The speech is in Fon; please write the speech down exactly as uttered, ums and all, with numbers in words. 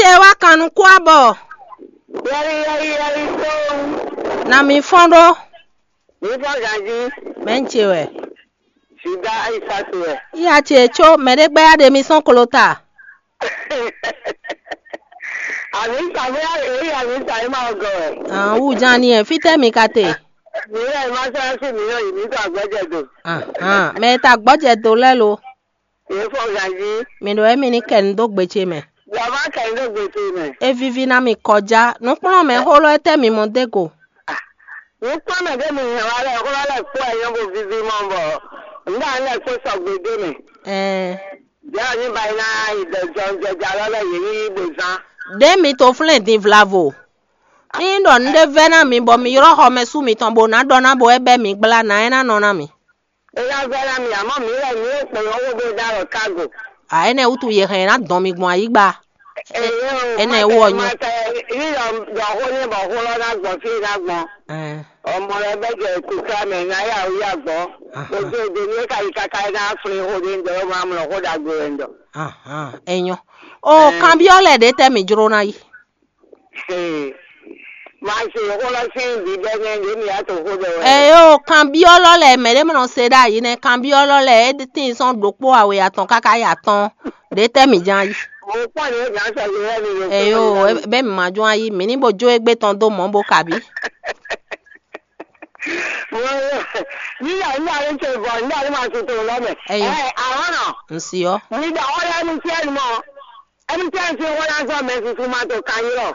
Ɛ wá kan nukún abɔ. Yɛyi yɛyi yɛyi tó. Na mi fɔ́n ɖó. Mi fɔ ganji. Mɛ ń ce wɛ. Sida ayi satu wɛ. Iya ce tso mɛ ɖé gbɛ́ ya ɖe mi sɔn klo ta. Àmì sàmì èyí àmì sàmì máa gọ̀ ẹ̀. Àwọn wújá ni ẹ̀ fítẹ́ mi ka te. Mi yẹ ma sọ ẹ sí mi yọ yìí mi tó àgbẹ̀jẹ̀ dò. Mɛ ta gbɔjɛ do lɛ lo. Yìí fọ ganji. Mi ɖo emi ní kɛ nu dó gbe ce mɛ. Yàrá kẹ ní dó gbe ce mɛ. E vivi na mi kɔjá. Nukplɔ́n mɛ xó lɔ etɛ mi mɔ dé go. Nukplɔ́n mɛ ɖé mi hɛn wá lɛ xó lɔ lɛ kpó ẹ nyɔ́ bo vivi mɔ bɔ. Nda lɛ kpó sɔgbe dé mɛ. Ɛɛ. Jɛ ni ba yi na yi dɛ jɔn jɛjà lɔ lɛ yě yí bo zán. Ɖé mi to flɛ́n din vlavo. Mi ɖɔ nǔɖé vɛ́ ná mi bɔ mi ylɔ́ xɔmɛsú mitɔn bó ná ɖɔ ná bo é bɛ́ mi gblá nǎ é ná nɔ ná mi. É ná vɛ́ ná mi, àmọ́ mǐ lɛ́ mǐ e kplɔ́n xó ɖó dó alɔ kágo. A énɛ́ wútu yě hɛn ná dɔn mi gbɔn ayígba. Énɛ́ wú ɔ́ nyɔ́. Yíyɔ ɖɔ xó ní bɔ xó lɔ ná gbɔn fí e ná gbɔn. Ɛɛ. Ọmọ rẹ bẹ jẹ kúkúrá mẹ ná yà wú yà gbọ́. Aha. Ojú èdè ní ká yí káká ná flin xó ɖé ń dɔ, ó máa mlɔ xó ɖagbe wɛ ń dɔ. Ahan, é nyɔ́. O kanbyɔ́ lɛ ɖě tɛ́ mǐ jló ná yi. Máa ṣe xó lɔ sín bíbẹ́ ní ẹni mi yá tó xó ɖɔ wɛ. Ɛ yó kanbyɔ́ lɔ lɛ mɛ ɖé mɔ se ɖ'ayǐ nɛ kanbyɔ́ lɔ lɛ é tín sɔ́n ɖokpó awě atɔn káká yi atɔn ɖě tɛ́ mǐ ján yi. Mo kpɔ́n ní gǎn sɔ yé wɛ mi ɖo. Ɛ yó bẹ́ẹ̀ mi ma jɔ́n ayi mǐ ní bo jó égbé tɔn dó mɔ̌ bo kabí. Nígbà nígbà ló ń ṣe bọ̀ nígbà ló máa ṣe tó lọ́mẹ̀. Ẹyin. Ẹ àwọn náà. Ǹsì ọ́. Nígbà wọ́n yá ní sí ẹnu mọ́. Ẹni tí a ń ṣe wọ́n lásán mẹ́sì fún máa tó ka yín lọ.